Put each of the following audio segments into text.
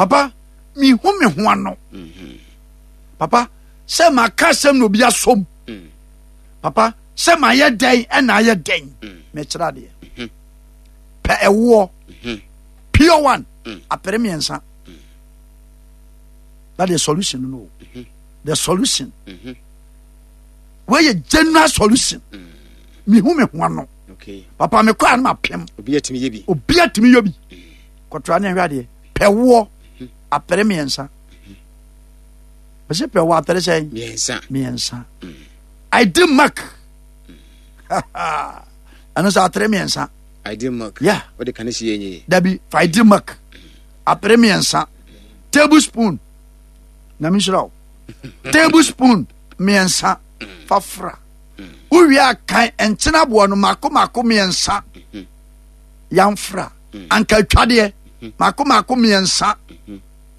Papa, mehu me ho ano. Mm-hmm. Papa, sɛ maka asɛm na obi asom. Papa, sɛ mayɛ dɛn ɛna ayɛ dɛn. Mekyerɛ adeɛ. Pɛ ɛwoɔ. Pure one. Apere mmiɛnsa. That the solution no. The solution. Wei yɛ general solution. Mehu me ho ano. Papa, mekɔ a no mapem. Obi atumi yɛ bi. Obi atumi yɛ bi. Kɔtra ne ɛhwɛ adeɛ. Pɛ woɔ. Apere mmiɛnsa. Mese pɛ woɔ apere sɛn? Mmiɛnsa. Mmiɛnsa. I did mark. Ɛno sɛ atere mmiɛnsa. I did mark. Yeah. Wode ka ne si yɛ nye. Dabi, fa I did mark. Apere mmiɛnsa. Tablespoon. Nyame nhyira wo. Tablespoon mmiɛnsa. Fa fra. Wowie a kan nkyene aboɔ no mako mako mmiɛnsa. Yamfra. Anka atwadeɛ mako mako mmiɛnsa.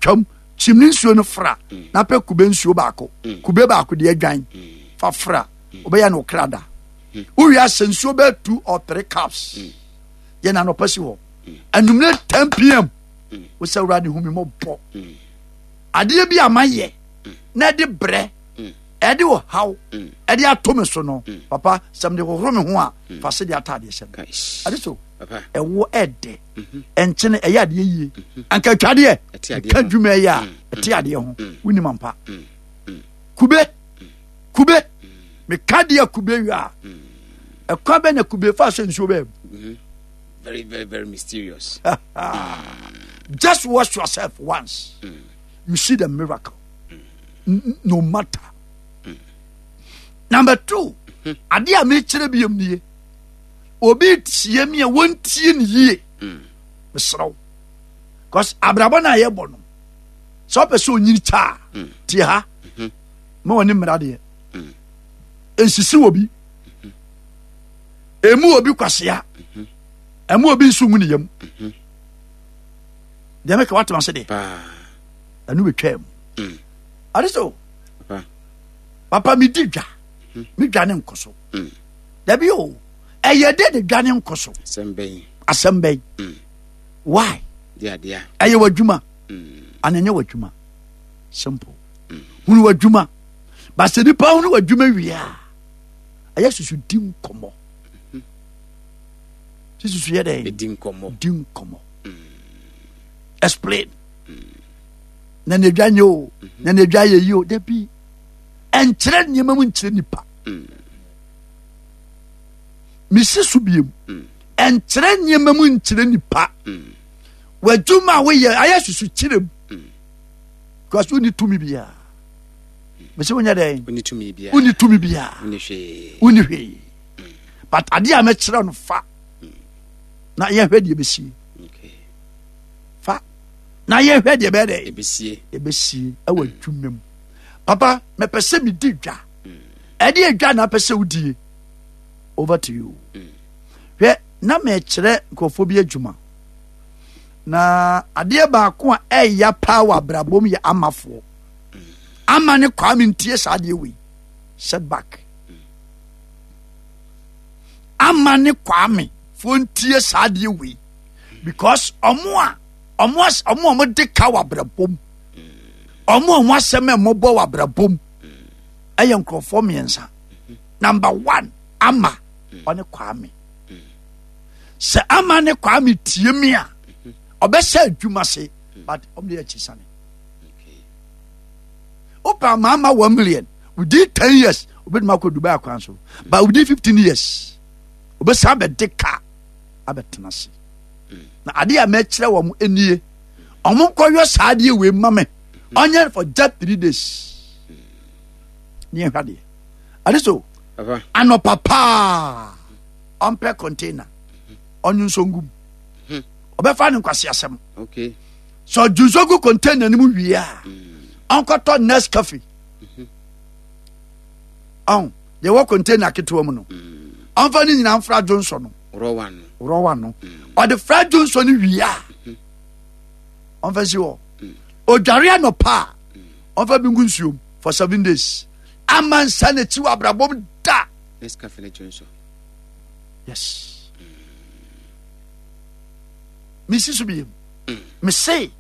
Twam. Kyim ne nsuo no fra. Na pɛ kube nsuo baako. Kube baako deɛ adwan. Fa fra. Wobɛyɛ no okra da. Wowie ahyɛ nsuo bɛyɛ 2 or 3 cups. Yɛ na anɔpa si hɔ. Anwummerɛ 10 pm. Wosɛ Awurade hu me mmɔbɔ. Adeɛ bi a mayɛ na ɛde brɛ ɛde ɔhaw ɛde ato me so no, papa, sɛ mede hohoro me ho a, fa se de ataadeɛ hyɛ me. Ade so ɛwo ɛdɛ ɛnkyene ɛyɛ adeɛ yie. Anka atwadeɛ ɛka dwuma ɛyɛ a ɛte adeɛ ho. Wonim ampa. Kube kube meka deɛ kube wie a, ɛkwan bɛ na kube fa so nsuo bɛɛ mu. Very, very, very mysterious. Just wash yourself once. You see the miracle. No matter. Number 2, adeɛ a mekyerɛ biom nie. Obi tie mi a wɔntie ne yie. Mesrɛ wo. Because abrabɔ no a yɛbɔ no, sɛ wopɛ sɛ onyini kyɛ a, tie ha. Ma wɔne mmara deɛ. Nsisi wɔ bi. Emu obi kwasea. Ɛmu obi nso ngu ne yam. Deɛ meka woatema se deɛ. Ɛno bɛtwaa mu. Ade so. Papa medi dwa. Me dwa ne nkɔ so. Dabi o. Ɛyɛ dɛ de dwa ne nkɔ so. Asɛm bɛn. Why? Ɛyɛ w'adwuma. Ana ɛnyɛ w'adwuma. Simple. Hunu w'adwuma. Ba sɛ nipa hunu w'adwuma wie a, ɛyɛ susu di nkɔmmɔ. Sɛ susu yɛ dɛn? Di nkɔmmɔ. Di nkɔmmɔ. Explain. Na ne dwa nyɛ o, na ne dwa yɛ yi o, dabi. Ɛnkyerɛ nneɛma mu nkyerɛ nipa. Mesi so biem. Ɛnkyerɛ nneɛma mu nkyerɛ nipa. W'adwuma a woyɛ ayɛ susu kyerɛ mu. Because wonni tumi biara. Mesi wonyɛ dɛn? Wonni tumi biara. Wonni tumi biara. Wonni hwee. Wonni hwee. But adeɛ a mɛkyerɛ no fa. Na yɛhwɛ deɛ ɛbɛsie. Fa. Na yɛhwɛ deɛ ɛbɛyɛ dɛ. Ɛbɛsie. Ɛbɛsie ɛwɔ adwuma mu. Papa, mɛpɛ sɛ medi dwa. Ɛde adwa na apɛ sɛ wodie. Over to you. Hwɛ, na mɛkyerɛ nkurɔfoɔ bi adwuma. Na adeɛ baako a ɛya paa wɔ abrabɔ mu yɛ amafoɔ. Ama ne Kwame ntie saa adeɛ wei. Setback. Ama ne Kwame foɔ ntie saa adeɛ wei. Because ɔmo a ɔmo ɔmo a ɔmo de ka wɔ abrabɔ mu. Ɔmo a ɔmo asɛm a ɛmɔbɔ wɔ abrabɔ mu. Ɛyɛ nkurɔfoɔ mmiɛnsa. Number 1, Ama ɔne Kwame. Sɛ Ama ne Kwame tie mi a, ɔbɛhyɛ adwuma se, but ɔmo de akyi sane. Wopɛ ama ama 1 million within 10 years, obɛtumi akɔ Dubai akwan so, but within 15 years, obɛsan bɛde ka abɛtena ase. Na adeɛ a mɛkyerɛ wɔn nie, ɔmo nkɔyɔ saa adeɛ wei ma me, ɔnyɛ for just 3 days. Ne yɛhwɛ adeɛ. Ade so, anɔpa paa, ɔmpɛ container, ɔnwo nso ngum. Ɔbɛfa ne nkwasi asɛm. Sɛ ɔdwo nso gu container no mu wie a, ɔnkɔtɔ Nescafe. Ɔn, deɛ ɛwɔ container ketewa mu no, ɔmfa ne nyinaa mfra dwonsɔ no. Rɔwa no. Ɔde fra dwonsɔ no wie a, ɔmfa si hɔ. Odware anɔpa a, ɔmfa bi ngu nsuom for 7 days. Ama nsa n'akyi wɔ abrabɔ mu da. Nescafe ne dwonsɔ. Yes. Mesi so biem. Mese.